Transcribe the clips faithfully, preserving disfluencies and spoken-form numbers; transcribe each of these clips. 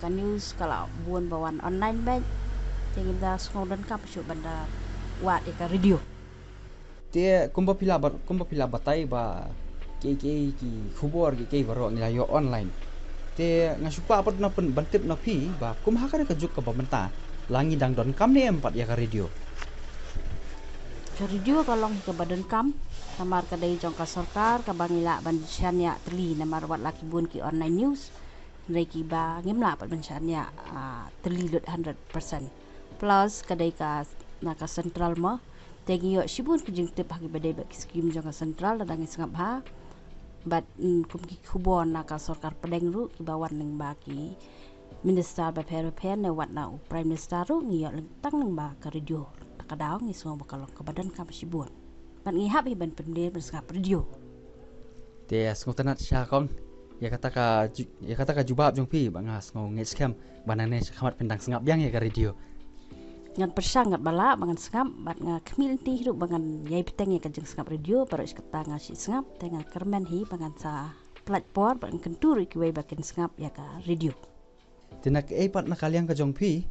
Ka news ka la bun ba wan online bad te ngim da sngew donkam shuh ban da wad ïa ka radio. Te kumba phi la bat, kumba phi la batai ba kiei kiei ki khubor kiei kiei baroh ngi la ïoh online. Te nga shu kwah pat na pyn, ban tip na phi ba kum ha kane ka juk kaba mynta la ngi dang donkam ne em pat ïa ka radio? Ka radio ka long kaba donkam namar ka dei jong ka sorkar kaba ngi lah ban shaniah tylli namar wat la ki bun ki online news. Hynrei kiba ngim lah pat ban shaniah, ah, tylli lut hundred percent. Plus ka dei ka na ka central mo. Te ngi ïoh shibun ki jingtip ha kiba dei bad ki skim jong ka central lada ngi sngap ha. Bad, mm, kum ki khubor na ka sorkar pdeng ruh kiba wan lyngba ki minister bapher bapher ne wat na u prime minister ruh ngi ïoh lyngtang lyngba ka radio. Ta ka daw ngi sngew ba ka long kaba donkam shibun. Bad ngi hap hi ban pynlong ban sngap radio. Te sngewtynnat sha kong ïa kata ka ju-, ïa kata ka jubab jong phi ba nga sngew ngeit skhem ba nangne sha khmat phin dang sngap biang ïa ka radio. Ngan pyrshang ngat ba lah ba ngan sngap bad nga khmih lynti ruh ba ngan ïai bteng ïa ka jingsngap radio baroh shi katta nga shu sngap te nga kyrmen hi ba ngan sa pynlait por bad ngan kyntu ruh ïa kiwei ba kin sngap ïa ka radio. Te na kaei pat na ka liang ka jong phi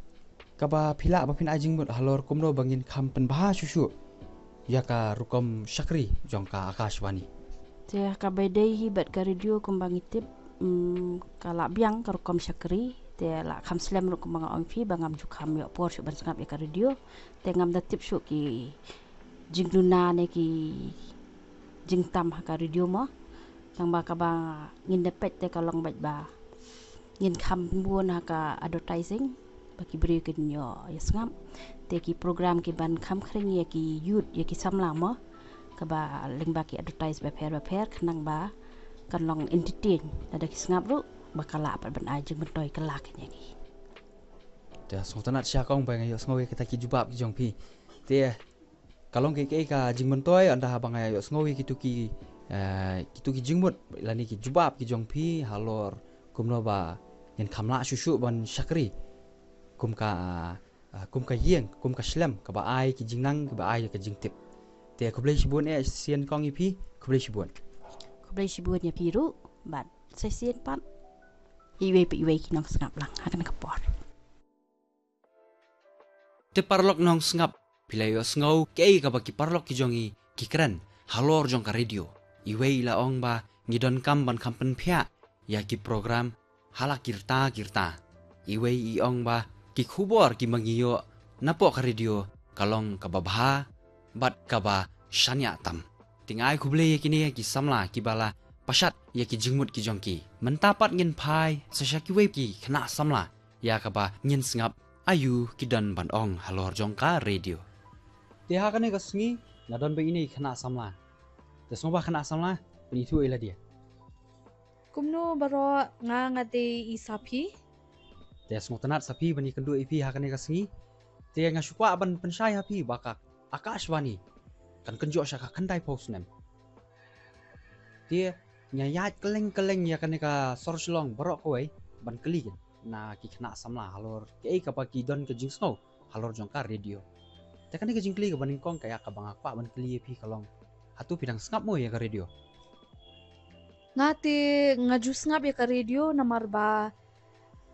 kaba phi lah ba phin ai jingmut halor kumno ba ngin kham pynbha shuh shuh ïa ka rukom shakri jong ka Akashvani? Te kaba dei hi bad ka radio kumba ngi tip, mm, ka lah biang ka rukom shakri te lah kham slem ruh kumba nga ong phi ba ngam ju kham ïoh por shuh ban sngap ïa ka radio. Te ngam da tip shuh ki jingduna ne ki jingtam ha ka radio mo. Tang ba kaba ngin da peit te ka long bad ba ngin kham bun ha ka advertising ba ki briew kin ïoh ïa sngap. Te ki program ki ban kham khring ïa ki youth ïa ki samla mo. Kaba lyngba ki advertise bapher bapher khnang ba kan long entertain lada ki sngap ruh ba ka lah pat ban ai jingmyntoi ka lah kin ïa ki. Te sngewtynnat sha kong ba nga ïoh sngew ïa kita ki jubab ki jong phi. Te ka long kiei kiei ka jingmyntoi ynda haba nga ïoh sngew ïa kitu ki, eh, kitu ki jingmut lane ki jubab ki jong phi halor kumno ba ngin kham lah shuh shuh ban shakri kum ka, eh, kum ka ïing kum ka shlem kaba ai ki jingnang kaba ai ka jingtip. Te khublei shibun eh shisien kong ïa phi. Khublei shibun. Khublei shibun ïa phi ruh bad sa shisien pat iwei pa iwei ki nongsngap lang ha kane ka por. Te paralok nongsngap, phi la ïoh sngew kaei kaba ki paralok ki jong ngi ki kren halor jong ka radio. Iwei i la ong ba ngi donkam ban kham pynphiah ïa ki program ha la ki rta ki rta. Iwei i ong ba ki khubor kiba ngi ïoh napoh ka radio ka long kaba bha bad kaba shaniah tam. Te nga ai khublei ïa kine ki samla kiba la pashat ïa ki jingmut ki jong ki. Mynta pat ngin phai sa sha kiwei ki khynnah samla ïa kaba ngin sngap aïu ki don ban ong halor jong ka radio. Te ha kane ka sngi nga don bad ine i khynnah samla. Te sngewbha khynnah samla, pynithuh ïa lade. Kumno baroh, nga nga dei i Saphi. Te sngewtynnat Saphi ban ïakynduh ïa phi ha kane ka sngi. Te nga shu kwah ban pynshai ha phi ba ka Akashvani kan kynjoh sha ka khyndai phew snem. Te nga ïaid kylleng kylleng ïa kane ka sor Shillong baroh kawei ban kylli na ki khynnah samla halor kaei kaba ki don ka jingsngew halor jong ka radio. Te kane ka jingkylli kaba nyngkong ka ïa kaba nga kwah ban kylli ïa phi ka long, hato phi dang sngap mo ïa ka radio? Nga te nga ju sngap ïa ka radio namar ba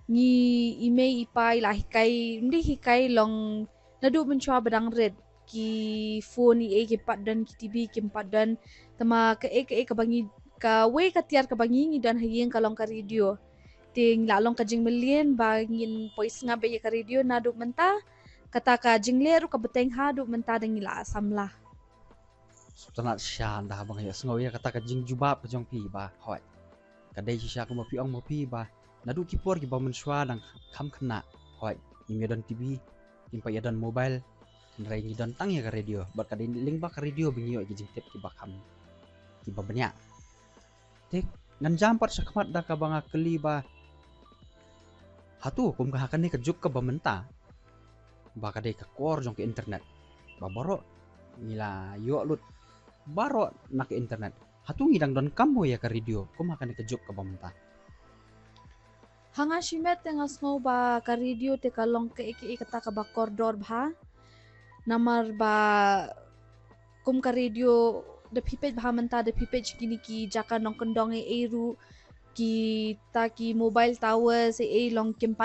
ngi i mei i pa i la hikai, ym dei hikai, long naduh mynshuwa ba dang rit, ki phone i ei kim pat don, ki TV kim pat don. Tangba kaei kaei kaba ngi, kawei ka tiar kaba ngi ngi don ha ïing ka long ka radio. Te ngi la long ka jingmlien ba ngin poi sngap beit ïa ka radio naduh mynta. Kata ka jingleh ruh ka bteng haduh mynta da ngi la samla. Sngewtynnat shisha ynda haba nga ïohsngew ïa kata ka jingjubab ka jong phi ba hooid. Ka dei shisha kumba phi ong ma phi ba naduh ki por kiba mynshuwa dang kham khynnah, hooid, ngim ïa don TV, ngim pat ïa don mobile, hynrei ngi don tang ïa ka radio bad ka dei lyngba ka radio ba ngi ïoh ïa ki jingtip kiba kham, kiba bniah. Te ngan jam pat shakhmat da kaba nga kylli ba hato kum ka ha kane ka juk kaba mynta ba ka dei ka kor jong ka internet ba baroh ngi la ïoh lut baroh na ka internet, hato ngi dang donkam mo ïa ka radio kum ha kane ka juk kaba mynta? Ha nga shimet te nga sngew ba ka radio te ka long kaei kaei kata kaba kordor bha. Namar ba kum ka radio da phi peit bha mynta, da phi peit sha kine ki jaka nongkyndong ei ei ruh, kita ki mobile towers, ei, long kim pat